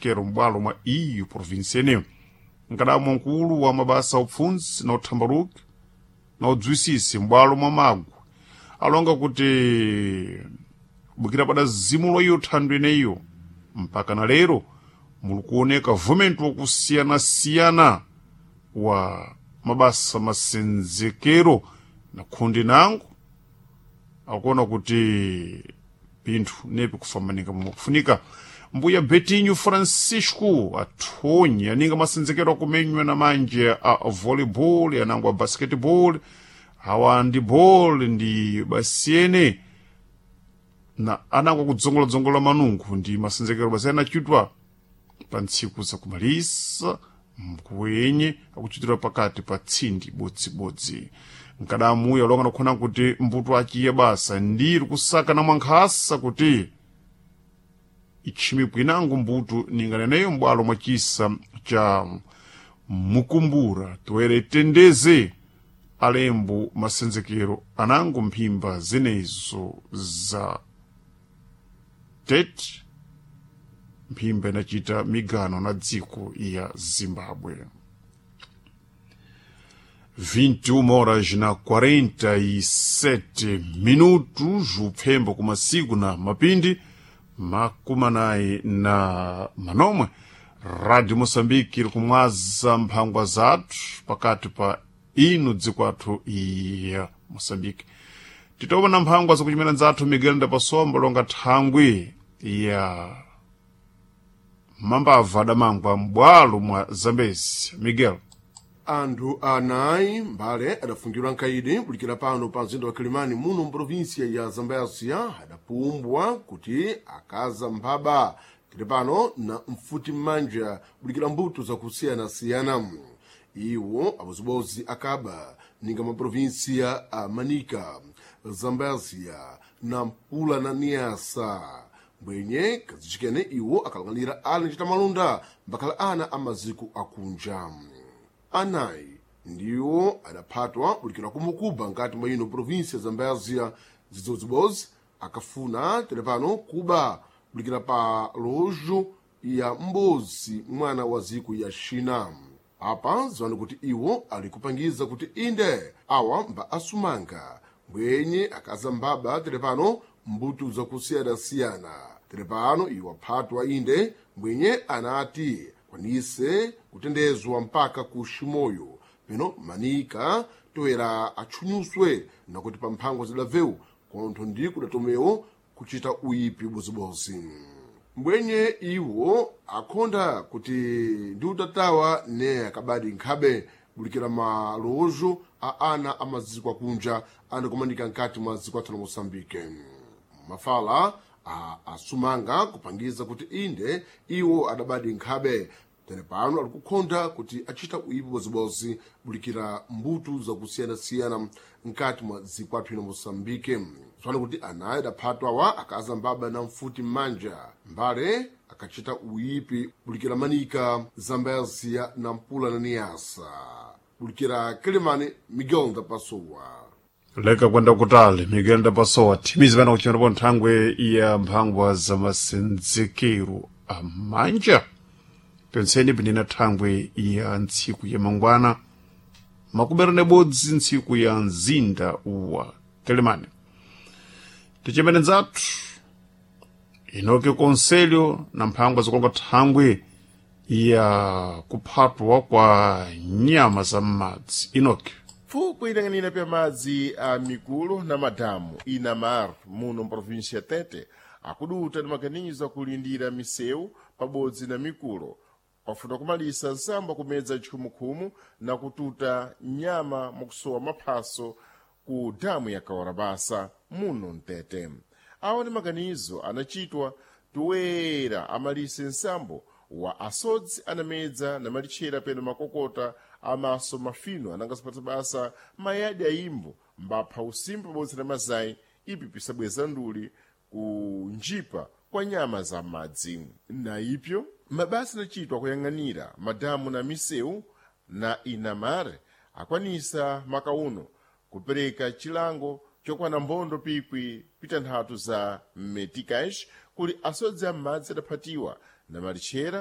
Kero m'bwalo mwa iyo provinsi yeneyo nkadamwa mkulu wa mabasa upfundzi na uthambaluki na udzwisisi m'bwalo mwa Magwe alonga kuti bukira pada zimulo iyo thandu ineyo mpaka na lero muli kuoneka vumento wakusiyanasiyana wa mabasa masenzekero na khundi nango akuona kuti pinthu nepi kufamanika momwe kufunika. Mbuya Betinho Francisco athonyi aninga masenzekero akumenywa na manje a volleyball anango a basketball awa handball ndi basiyene na anango kudzongoladzongola manungu ndi masenzekero basi anachitwa pa ntsiku zakumalisa mkuwenye akuchitira pakati pa tsindi bodzibodzi. Nkadamuyo alonga nakhona kuti mbuto achiye basa ndiri kusaka na mwankhasa kuti itchimikwi inango mbuto ninganeneyo m'bwalo mwa chisa cha Mukumbura toere tendeze alembo masenzekero anango mphimba zenezo za Tete, mphimba inachita migano na dziko ya Zimbabwe. 21 horas na 47 minutos, upfembo kumasiku na mapindi makumanayi na manomwe. Radio Moçambique iri kumwaza mphangwa zathu pakati pa inu dziko athu ya Moçambique. Titopa na mphangwa zakuchimena nzathu Miguel Ndapasomba longa thangwi ya mambava adamangwa m'bwalo mwa Zambezi. Miguel. Anthu anayi mbale adafungidwa nkaidi kulikira pano pa mzinda wa Kilimani muno mprovinsia ya Zambésia adapumbwa kuti akaza mphaba tili pano na mfuti m'manja kulikira mbuto zakusiyanasiyana. Iwo abozibodzi akaba ninga maprovinsia a Manica, Zambésia, Nampula na Niassa. Mbwenye kazichikene iwo akalang'anira ali ncita malonda mbakhala ana a maziko akunja. Anayi ndiwo adaphatwa kulikira kumukuba nkati mwa ino provinsia ya Zambésia zidzobzibodzi akafuna telepano kuba kulikira pa lojo ya mbozi mwana wa ziko ya China. Apa ziwani kuti iwo ali kupangiza kuti inde awa mba asumanga mbwenye akaza mbaba telepano mbuto zakusiyanasiyana. Telepano iwo aphatwa inde mbwenye anati kwanise kutendezwa mpaka ku Shimoyo peno Manika toera atchunyuswe nakuti pa mphangwa zidavewu kontho ndi kudatomewo kuchita uyipi bozibozi. Mbwenye iwo akhonda kuti ndi utatawa ne akabadi nkhabe bulikira malozo a ana a maziko akunja anakumanika nkati mwa dziko athu la Moçambique. Mafala a asumanga kupangiza kuti inde iwo adabadi nkhabe tere pano ali kukhonda kuti achita uyipi bozibozi bulikira mbuto zakusiyanasiyana nkati mwa dziko athu ino Moçambique. Tsopano kuti anayi adaphatwawa akaza mbaba na mfuti m'manja mbale akachita uyipi bulikira Manika, Zambésia, Nampula na Niassa. Bulikira Kilimani, Miguel Ndapasuwa. Leka kwenda kutali Miguel Ndapasowa thimizi pano kuchimirapo nthangwe ya mphangwa za masenzekero amanja penseni pinena thangwe ya ntsiku ya mangwana makumi nebodzi ntsiku ya mzinda wa Telemani. Tichimene nzathu inoke konselho na mphangwa zikulonga thangwe ya kuphatwa kwa nyama za m'madzi. Inoke. Pfuko ilang'anira pya madzi a mikulu na madamu inamar muno mprovinsia ya Tete akuduta ni maganizo akulindira misewu pabodzi na mikulo pafuna kumalisa nsambo kumedza chikhumukhumu na kututa nyama mwakusowa maphaso ku damu ya Kawarabasa muno mtete. Awa ni maganizo anachitwa toera amalise nsambo wa asodzi anamedza na malitchera peno makokota amaso mafino anangasapatsa basa mayadi ayimbo mbapha usimba pabodzi na mazayi ipi pisabweza nduli ku njipa kwa nyama za madzi. Na ipyo mabasa anachitwa kuyang'anira madamu na misewu na inamare akwanisa makauno kupereka chilango chokwana mbondo pikwi pitanthatu za meticais kuli asodzi am'madzi adaphatiwa na malitchera.